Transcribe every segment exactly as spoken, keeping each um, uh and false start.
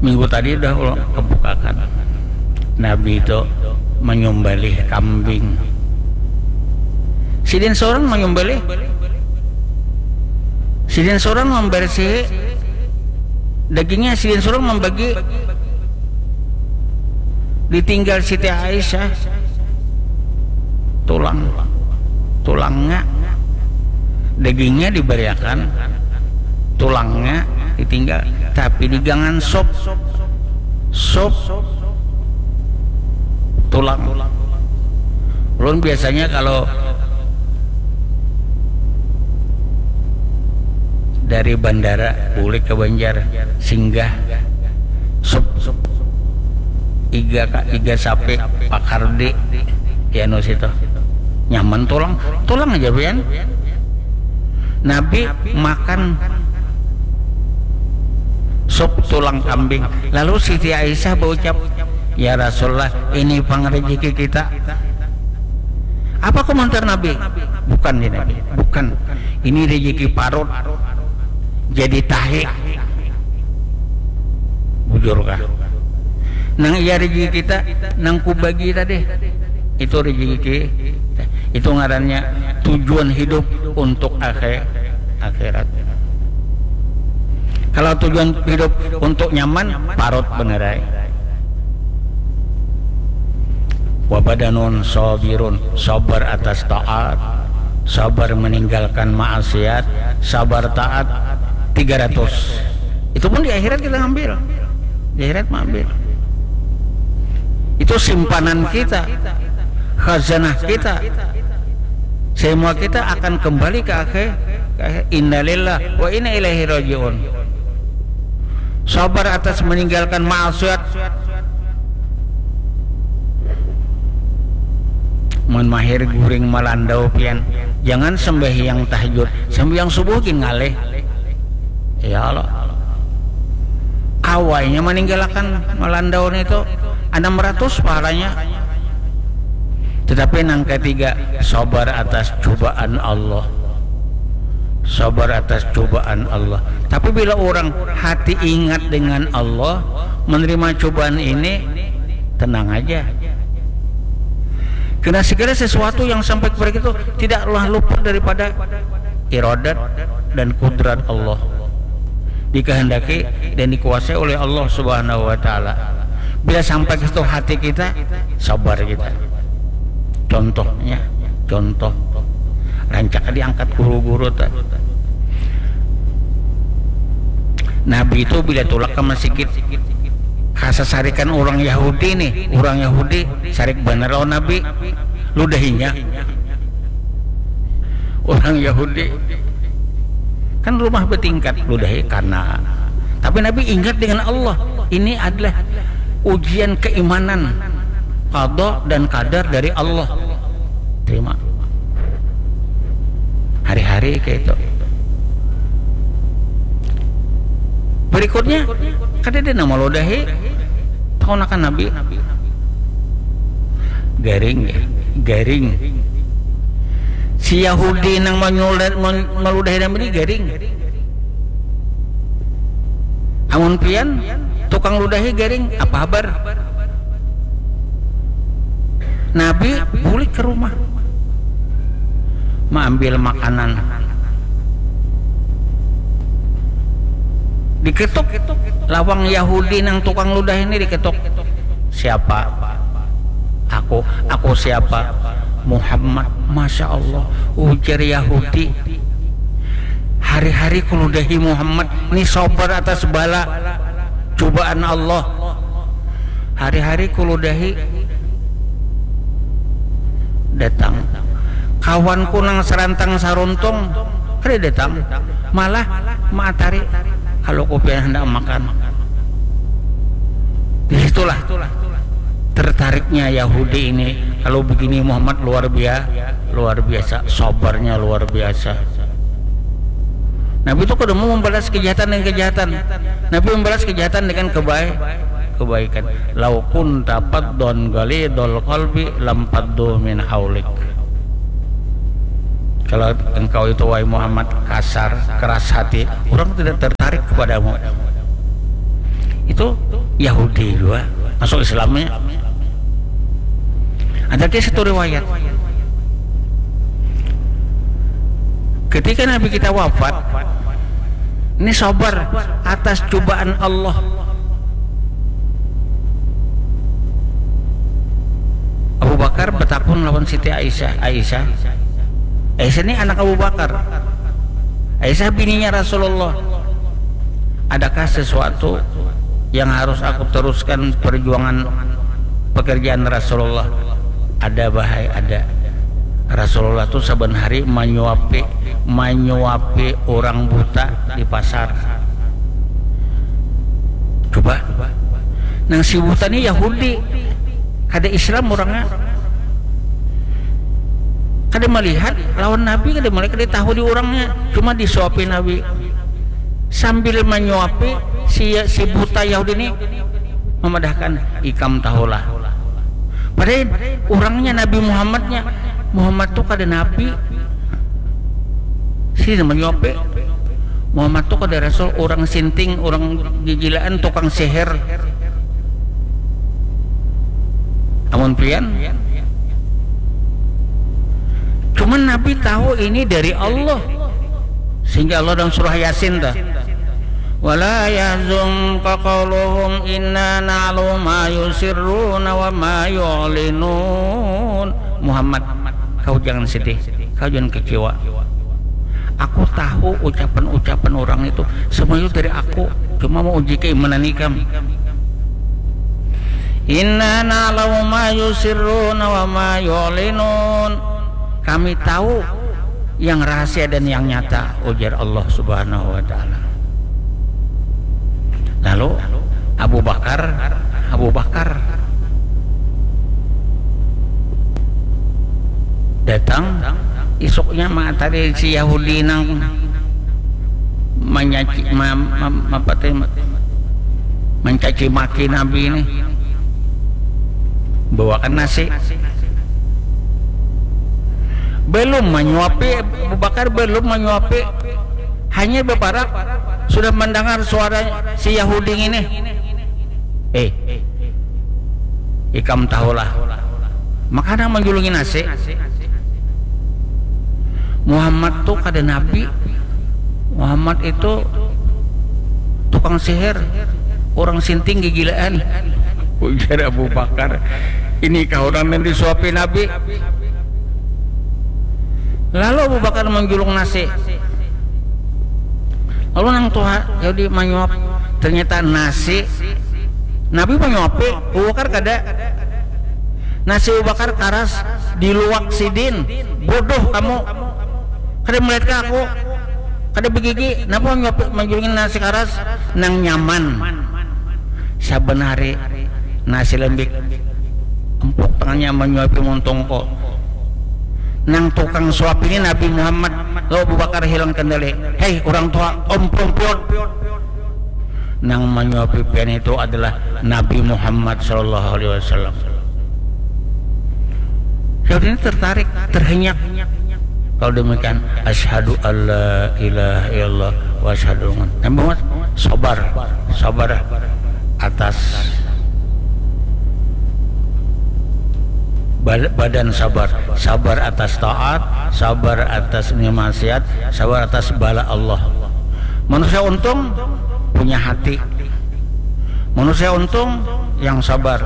Minggu tadi udah ulun kebukakan. Nabi itu menyembelih kambing. Sidin seorang menyembelih. Sidin seorang membersihi dagingnya, sidin seorang membagi. Ditinggal Siti Aisyah, tulang, tulangnya, dagingnya diberiakan, tulangnya ditinggal, tapi digangan sop, sop tulang. Ulun biasanya kalau dari bandara bulik ke Banjar, singgah sop iga ka iga sapi pakar di anu situ, nyaman tulang, tulang aja pian. Nabi makan sop tulang kambing. Lalu Siti Aisyah berucap, "Ya Rasulullah, ini pang rezeki kita." Apa komentar Nabi? "Bukan," ya Nabi, "bukan. Ini rezeki parut. Jadi tahi." Bujur kah? Nang iya rezeki kita, nang kubagi tadi. Itu rezeki kita. Itu ngarannya tujuan hidup untuk akhir, akhirat. Kalau tujuan hidup untuk nyaman, parut benerai. Wabadanun sabirun, sabar atas taat, sabar meninggalkan maksiat, sabar taat, tiga ratus. Itu pun di akhirat kita ngambil. Di akhirat mengambil. Itu simpanan kita, khazanah kita. Semua kita akan kembali ke akhir, ke akhir. Innalillah wa inna ilaihi rajiun. Sabar atas meninggalkan maksiat. Mun mahir guring malandau pian, jangan sembahyang tahajud, sembahyang subuh gin ngalih. Ya Allah. Awainya meninggalkan malandau itu enam ratus pahalanya. Tetapi nang ketiga, sabar atas cobaan Allah. Sabar atas cobaan Allah. Tapi bila orang hati ingat dengan Allah, menerima cobaan ini, tenang aja. Karena segala sesuatu yang sampai kepada kita tidaklah luput daripada iradat dan kudrat Allah. Dikehendaki dan dikuasai oleh Allah Subhanahu wa taala. Bila sampai ke situ hati kita, sabar kita. Contohnya, contoh. Rancak diangkat guru-guru ta. Nabi itu bila tulak ke masjid, kasasarikan orang Yahudi nih, orang Yahudi sarik banar lawan Nabi, ludahinya. Orang Yahudi kan rumah bertingkat, ludahi karena. Tapi Nabi ingat dengan Allah. Ini adalah ujian keimanan, qada dan kadar dari Allah. Terima. Hari-hari kayak itu. Berikutnya, kada ada nama ludahi. Tahu akan Nabi. Garing, ya. Garing. Si Yahudi nang manyulat, man-, maludahi Nabi ini garing. Amun pian, tukang ludahi garing, apa habar? Nabi bulik ke rumah, maambil makanan. Diketuk, lawang Yahudi nang tukang ludah ini diketuk. "Siapa?" "Aku." "Aku siapa?" "Muhammad." "Masya Allah," ujar Yahudi. "Hari-hari kuludahi Muhammad, ni sabar atas bala, cobaan Allah. Hari-hari kuludahi datang. Kawanku nang sarantang saruntung, kada datang. Malah maatari kalau kupian hendak makan." Di situlah tertariknya Yahudi ini. Kalau begini Muhammad luar biasa, luar biasa, sabarnya luar biasa. Nabi itu kada mau membalas kejahatan dengan kejahatan. Nabi membalas kejahatan dengan kebaik, kebaikan. "Lau kunta faddan ghalidhal qalbi lam faddu min haulik." Kalau engkau itu, wahai Muhammad, kasar, keras hati, orang tidak tertarik kepadamu. Itu Yahudi juga masuk Islamnya. Ada kisah satu riwayat. Ketika Nabi kita wafat, ini sabar atas cobaan Allah. Abu Bakar bertakun lawan Siti Aisyah, Aisyah, Aisyah ini anak Abu Bakar. Aisyah bininya Rasulullah. Adakah sesuatu yang harus aku teruskan perjuangan pekerjaan Rasulullah? Ada, bahai, ada. Rasulullah tuh saban hari manyuapi, manyuapi orang buta di pasar. Coba. Nang si buta ni Yahudi. Kada Islam orangnya. Kada melihat lawan Nabi, kada melihat, kada tahu di orangnya. Cuma disuapi Nabi. Sambil manyuapi si, si buta Yahudi ni memadahkan, "Ikam tahulah." Padahal orangnya Nabi Muhammadnya. Muhammad tu kada nabi. Si manyuapi. Muhammad tu kada rasul, orang sinting, orang gigilaan, tukang sihir. Amun pian, cuman Nabi tahu ini dari Allah. Sehingga Allah dalam surah Yasin tuh, "Wala yahzunka qauluhum inna na'lamu ma yusirruna wa ma yu'linun." Muhammad, kau jangan sedih, kau jangan kecewa. Aku tahu ucapan-ucapan orang itu semua itu dari aku, cuma mau uji keimanan ikam. Inna na'lamu ma yusirruna wa ma yu'linun. Kami tahu yang rahasia dan yang nyata, ujar Allah Subhanahu wa Ta'ala. Lalu Abu Bakar, Abu Bakar datang isuknya, mengatakan si Yahudi nang manyaci, ma, ma, apa teh, mencaci maki Nabi ini, bawakan nasi. Belum menyuapi, Abu Bakar belum menyuapi, hanya beparak sudah mendengar suara si Yahudi ini. "Eh, ikam tahulah." Maka nang menjulungi nasi. Muhammad tuh kada nabi. Muhammad itu tukang sihir, orang sinting gigilaan. Ujar Abu Bakar, "Ini kah orang yang disuapi Nabi?" Lalu Abu Bakar menjulung nasi. Lalu nang tuha jadi manyuap. Ternyata nasi. Nabi manyuapi, Abu Bakar kada. Nasi Abu Bakar karas, diluak sidin. "Bodoh kamu. Kada melihat ke aku. Kada begigi. Kenapa manyuapi, menjulungi nasi karas?" Nang nyaman. Saban hari nasi lembik. Empuk tangannya menyuapi muntung ko. Nang tukang suap ini Nabi Muhammad. Lalu Abu Bakar hilang kendali. "Hei, orang tua, om perempuan." Nang menyuapi pian itu adalah Nabi Muhammad sallallahu alaihi wasallam. Yahudi ini tertarik, terhenyak. Kalau demikian, "Asyhadu alla ilaha illallah wa asyhadu anna." Nabi Muhammad, sabar, sabar atas bal-, badan sabar, sabar atas taat, sabar atas ini maksiat, sabar atas bala Allah. Manusia untung punya hati. Manusia untung yang sabar.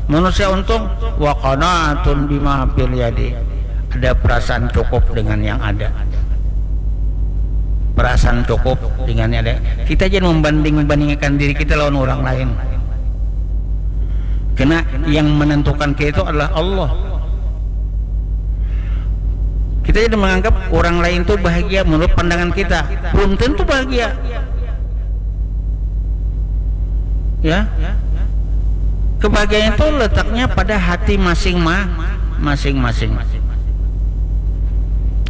Manusia untung wa qanaatun bima fil yadi. Ada perasaan cukup dengan yang ada. Perasaan cukup dengan yang ada. Kita jangan membanding-bandingkan diri kita lawan orang lain. Karena yang menentukan kita itu adalah Allah. Kita jadi menganggap orang lain itu bahagia menurut pandangan kita. Belum tentu bahagia. Ya. Kebahagiaan itu letaknya pada hati masing ma-, masing-masing.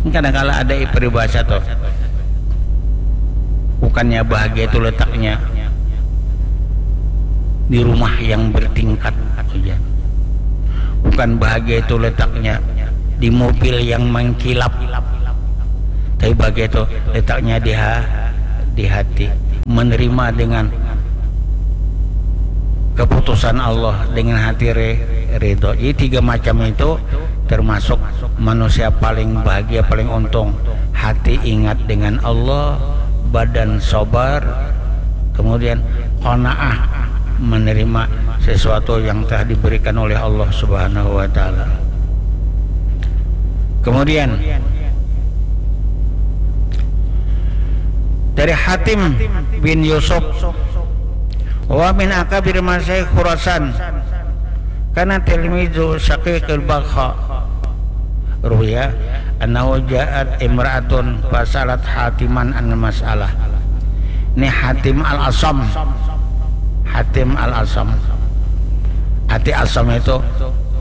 Kadang kala ada peribahasa tuh. Bukannya bahagia itu letaknya di rumah yang bertingkat, ujar. Bukan bahagia itu letaknya di mobil yang mengkilap. Tapi bahagia itu letaknya di ha-, di hati. Menerima dengan keputusan Allah dengan hati re-, ridho. Jadi tiga macam itu termasuk manusia paling bahagia, paling untung. Hati ingat dengan Allah, badan sabar, kemudian qanaah, menerima sesuatu yang telah diberikan oleh Allah Subhanahu wa Ta'ala. Kemudian dari Hatim bin Yusuf, wa min akabir masyayikh Khurasan, kana tilmizu Syaqiqil Bakha. Ruya annahu ja'at imra'atun fasalat Hatiman an masalah. Ini Hatim al-Asam. Hatim al-Asam. Hati Asam itu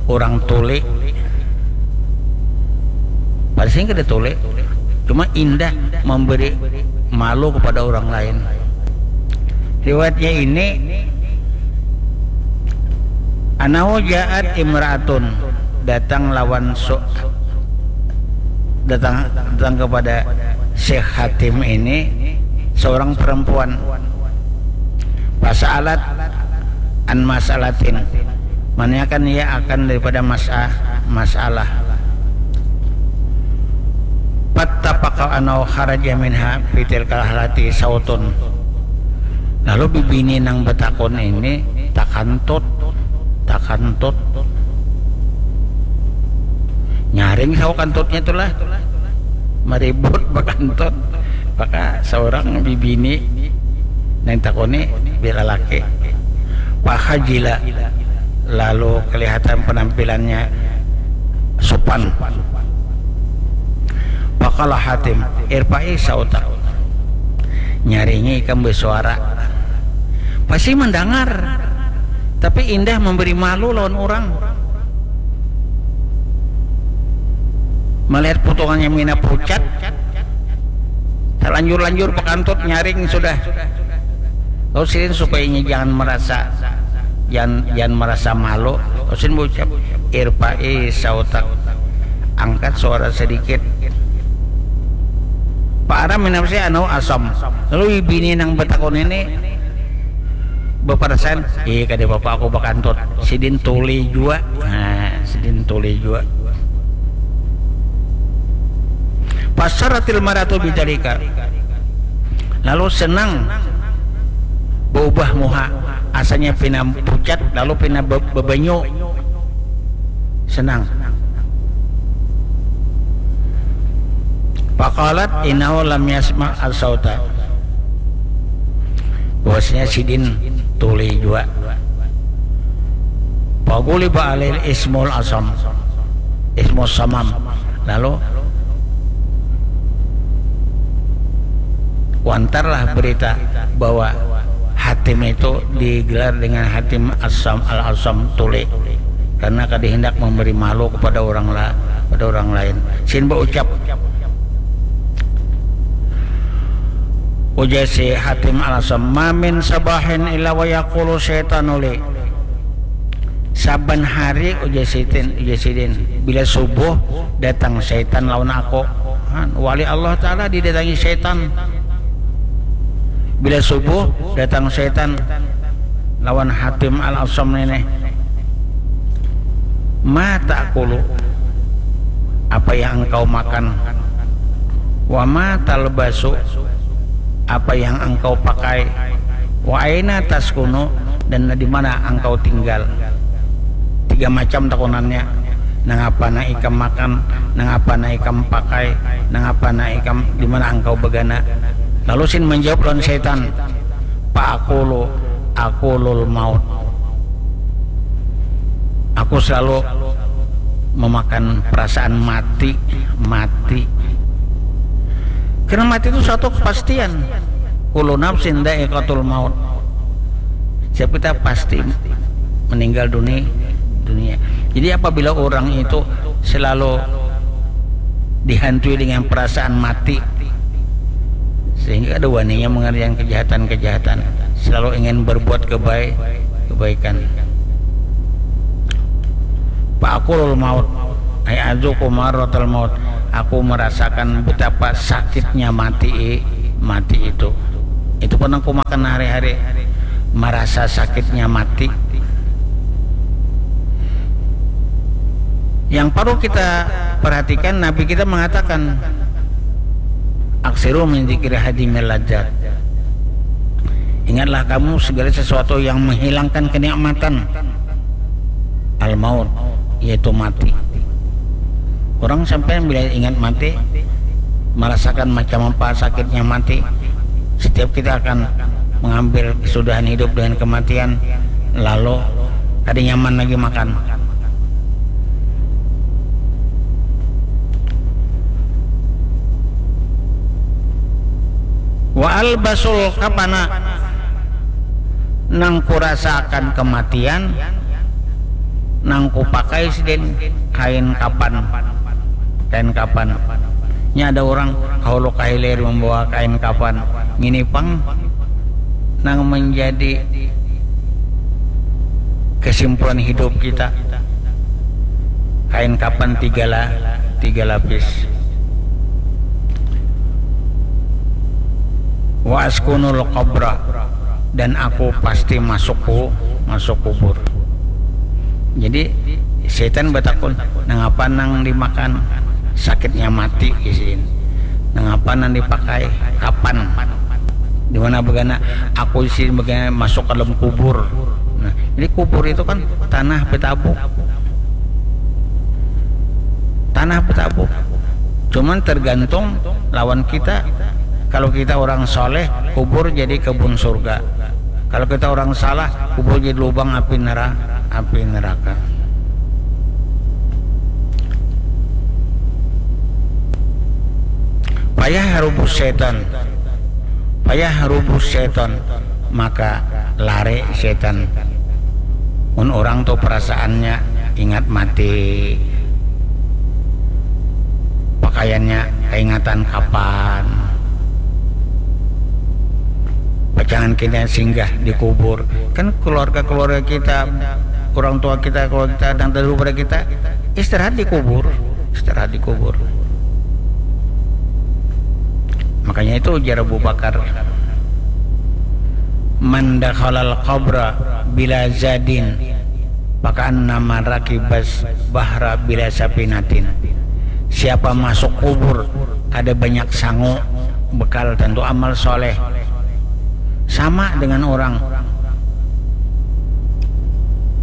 orang tuli. Pasti kada tuli. Cuma indah memberi malu kepada orang lain. Riwayatnya ini, annahu ja'at imra'atun, datang lawan su-, datang, datang kepada Syekh Hatim ini seorang perempuan. Fasa'alat an mas'alatin, menanyakan ia akan daripada masa-, masalah. Fattafaqa annahu kharaja minha fi tilkal halati sautun. Lalu bibini nang betakun ini takantut, takantut. Nyaring sawa kantutnya itulah. Maribut bakantut. Maka seorang bibini nang takuni bila laki. Fakhajila, lalu kelihatan penampilannya supan. Faqala Hatim, "Irfa'i sautak." Nyaringi ikam bersuara. Pasti mendengar, tapi indah memberi malu lawan orang. Melihat potongannya mina pucat, terlanjur-lanjur bakantut nyaring sudah. Lalu sidin supaya inya jangan merasa, jangan, jangan merasa malu, lalu sidin berucap, "Irfa'i sautak." Angkat suara sedikit. Fa'ara min nafsi annahu asam. Lalu bini nang betakun ini beperasaan, "Ih, kada apa-apa, aku bakantut." Sidin tuli jua. Nah, sidin tuli jua. Fasarratil mar'atu bidzalika. Lalu senang berubah muha, asalnya pina pucat lalu pina be-, bebanyu. Senang. Faqalat innahu lam yasma' as-sauta. Bahwasanya sidin tuli jua. Faghuliba alaihil ismul asam. Ismus samam. Lalu wantarlah berita bahwa Hatim itu digelar dengan Hatim Asam al-Asam tuli, karena kada hendak memberi malu kepada orang la-, pada orang lain. Sin berucap, ujar si Hatim al-Asam, "Ma min sabahin illa wa yaqulu syaitanu li." Saban hari, ujar sidin, ujar sidin, bila subuh datang syaitan lawan aku. Han, wali Allah Ta'ala didatangi syaitan. Bila subuh datang syaitan lawan Hatim al-Asam ini. Ma ta'kulu, apa yang engkau makan? Wa ma talbasu, apa yang engkau pakai? Wa aina taskunu, dan di mana engkau tinggal? Tiga macam takunannya. Nang apa nang ikam makan, nang apa nang ikam pakai, nang apa nang ikam, di mana engkau begana? Lalu sin menjawab lawan syaitan, "Fa'akulu, akulul maut." Aku selalu memakan perasaan mati, mati. Karena mati itu suatu kepastian. Kullu nafsin dha'iqatul maut. Setiap kita pasti meninggal duni-, dunia. Jadi apabila orang itu selalu dihantui dengan perasaan mati, sehingga ada waninya mengerjakan kejahatan-kejahatan, selalu ingin berbuat kebaik, kebaikan. Fa'akulul maut, ay azuku marratal maut. Aku merasakan betapa sakitnya mati, mati itu. Itu pun aku makan hari-hari, merasa sakitnya mati. Yang perlu kita perhatikan, Nabi kita mengatakan, "Aksiru min dzikri hadimil ladzat." Ingatlah kamu segala sesuatu yang menghilangkan kenikmatan al-maut, yaitu mati. Orang sampai bila ingat mati, merasakan macam apa sakitnya mati. Setiap kita akan mengambil kesudahan hidup dengan kematian, lalu kada nyaman lagi makan. Wa albasul kafana, nang kurasaakan kematian, nang kupakai sidin kain kapan, kain kapan. Nya ada urang kahulu kahilir mambawa kain kapan. Ngini pang nang manjadi kesimpulan hidup kita. Kain kapan tiga la-, tiga lapis. Wa askunul qabra, dan aku pasti masuk ku-, masuk kubur. Jadi setan batakun, "Nangapa nang dimakan?" "Sakitnya mati," isin. "Nangapa nang dipakai?" "Kapan." "Di mana bagana?" "Aku isin bagana masuk ke dalam kubur." Nah, jadi kubur itu kan tanah betabuk. Tanah betabuk. Cuman tergantung lawan kita. Kalau kita orang soleh, kubur jadi kebun surga. Kalau kita orang salah, kubur jadi lubang api nera-, api neraka. Payah rubus setan. Payah rubus setan. Maka lari setan. Mun orang tu perasaannya ingat mati, pakaiannya kaingatan kapan, pacangan kita singgah di kubur. Kan keluarga-keluarga kita, orang tua kita, keluarga kita, yang terdahulu pada kita, istirahat di kubur, istirahat di kubur. Makanya itu ujar Abu Bakar, "Man dakhalal qabra bila zadin, fakaannama rakibas bahra bila sapinatin." Siapa masuk kubur kada banyak sangu, bekal tentu amal soleh, sama dengan orang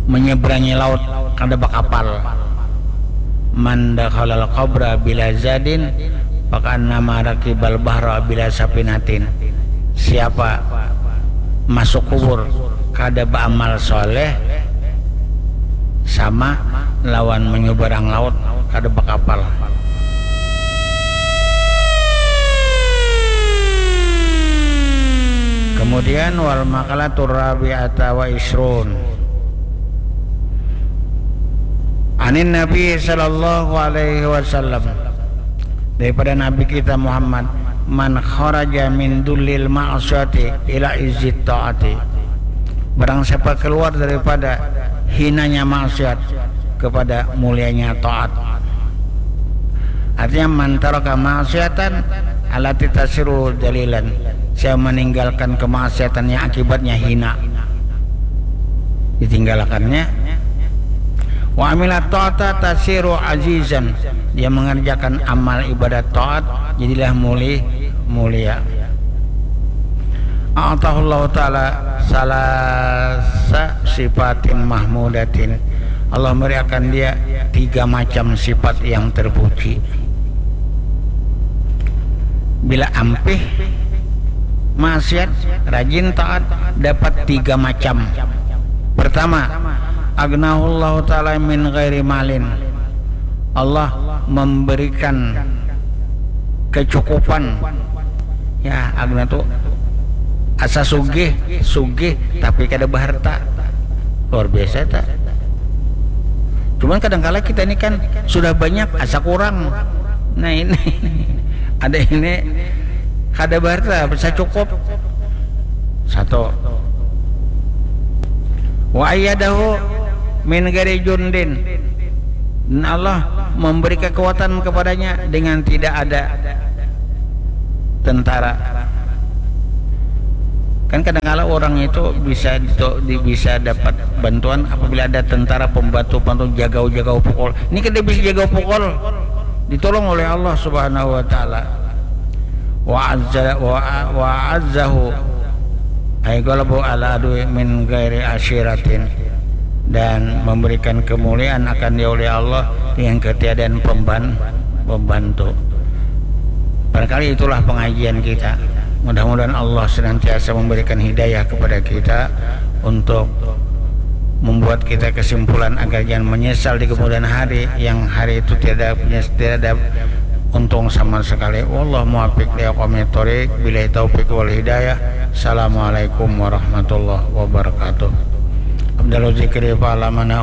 menyeberangi laut kada bakapal. "Man dakhalal qabra bila zadin, fakaannama rakibal bahra bila sapinatin." Siapa masuk kubur kada beramal soleh, sama lawan menyeberang laut kada bakapal. Kemudian, wal maqalatur rabi'ata wa isrun. Anin Nabi sallallahu alaihi wasallam, daripada Nabi kita Muhammad, "Man kharaja min dullil ma'siyati ila izzit ta'ati." Barang siapa keluar daripada hinanya maksiat kepada mulianya taat. Artinya, "Man taraka ma'siyatan allati tasiru dalilan." Siapa meninggalkan kemaksiatan yang akibatnya hina, ditinggalkannya. "Wa amila ta'ata tasiru azizan." Dia mengerjakan amal ibadat taat, jadilah muli-, mulia. "A'tahullahu ta'ala salasa sifatin mahmudatin." Allah memberikan dia tiga macam sifat yang terpuji. Bila ampih maksiat, rajin taat, dapat tiga macam. Pertama, "Aghnahullahu ta'ala min ghairi malin." Allah memberikan kecukupan. Ya, aghna tu asa sugih, sugih tapi kada beharta. Luar biasa, tak? Cuman kadangkala kita ni kan sudah banyak, asa kurang. Nah, ini ada ini, kada beharta, asa cukup. Satu. "Wa ayyadahu min ghairi jundin." Dan Allah memberi kekuatan kepadanya dengan tidak ada tentara. Kan kadangkala orang itu bisa bisa dapat bantuan apabila ada tentara pembantu pantun jagau-jagau pukul. Ini kada bisa jagau pukul, ditolong oleh Allah Subhanahu wa taala. Wa azza wa, wa azzahu ay ghalabahu ala adwi min ghairi asyiratin, dan memberikan kemuliaan akan dia oleh Allah dengan ketiadaan pemban pembantu. Barangkali itulah pengajian kita. Mudah-mudahan Allah senantiasa memberikan hidayah kepada kita untuk membuat kita kesimpulan agar jangan menyesal di kemudian hari, yang hari itu tiada punya, tiada untung sama sekali. Wallahu muwaffiq li aqwamit thoriq, billahi taufiq wal hidayah. Assalamualaikum warahmatullahi wabarakatuh. Afdalu dzikri fa'lamana